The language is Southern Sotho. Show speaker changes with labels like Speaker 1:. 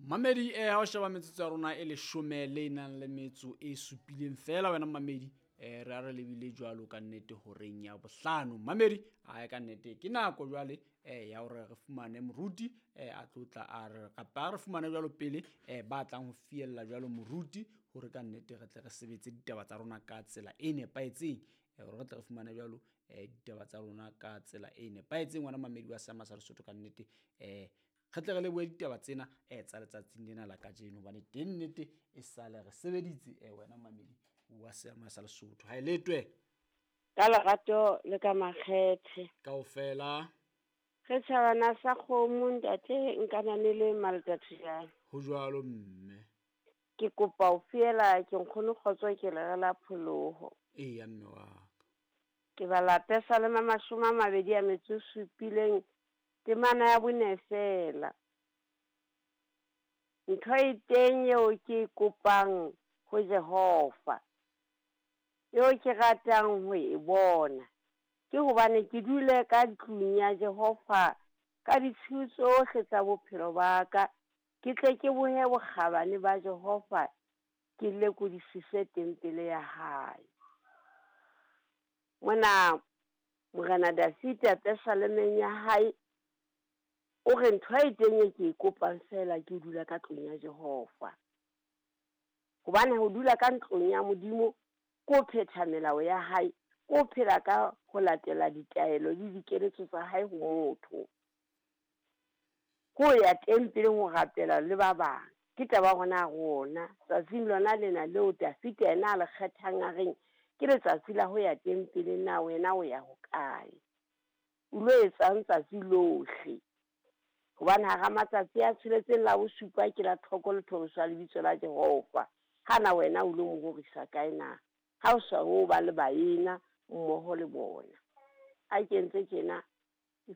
Speaker 1: Mamedi ha o sheba metsotso ya rona e leshome le nang le metso e supileng fela wena mamedi re a re lebile jwalo ka nnete horeng ya bohlano. Mamedi ae ka nnete ke nako jwale ya hore re fumane moruti a tlo tla a re kapa re fumane jwalo pele ba tlang ho fiella jwalo moruti hore ka nnete re tle re sebetse ditaba tsa rona ka tsela e nepahetseng. Hore re tle re fumane jwalo ditaba tsa rona ka tsela e nepahetseng wena mamedi wa Seama sa Lesotho ka nnete re tle re lebohe ditaba tsena tsa letsatsing lena la kajeno hobane teng nnete e sale re sebeditse wena mamedi wa Seama sa Lesotho. Ha e letwe
Speaker 2: ka lerato le ka makgethe
Speaker 1: kaofela.
Speaker 2: Re tjhabana sa kgomo ntate nkanane le Maltathujana.
Speaker 1: Ho jwalo mme.
Speaker 2: Ke kopa ho fiela ke nkgono kgotso ke lere la pholoho.
Speaker 1: Eya mme wa ka.
Speaker 2: Ke bala Pesalema 27 temana ya 4 fela. Ntho e teng eo ke e kopang ho Jehova, eo ke ratang ho e bona, ke hobane ke dule ka tlung ya Jehova ka ditshiu tsohle tsa bophelo ba ka, ke tle ke bohe bokgabane ba Jehova, ke lekodisise tempele ya hae. Mona Morena Dafita Pesalemeng ya hae o re ntho e teng e ke e kopang fela ke ho dula ka tlung ya Jehova. Hobane ho dula ka ntlong ya Modimo ke ho phetha melao ya hae, ke ho phela ka ho latela ditaelo le dikeletso tsa hae ho motho. Ke ho ya tempeleng ho rapela le ba bang. Ke taba hona rona tsatsing lona lena leo Dafita yena a le kgethang a reng ke letsatsi la ho ya tempeleng, na wena o ya hokae? O lo etsang tsatsi lohle? Hobane hara matsatsi a tsheletseng la bosupa ke la thoko le thoriso ya lebitso la Jehova. Hana wena o lo mo rorisa kae na? Ha o sa o ba le baena mmoho le bona. A kentse tjena ke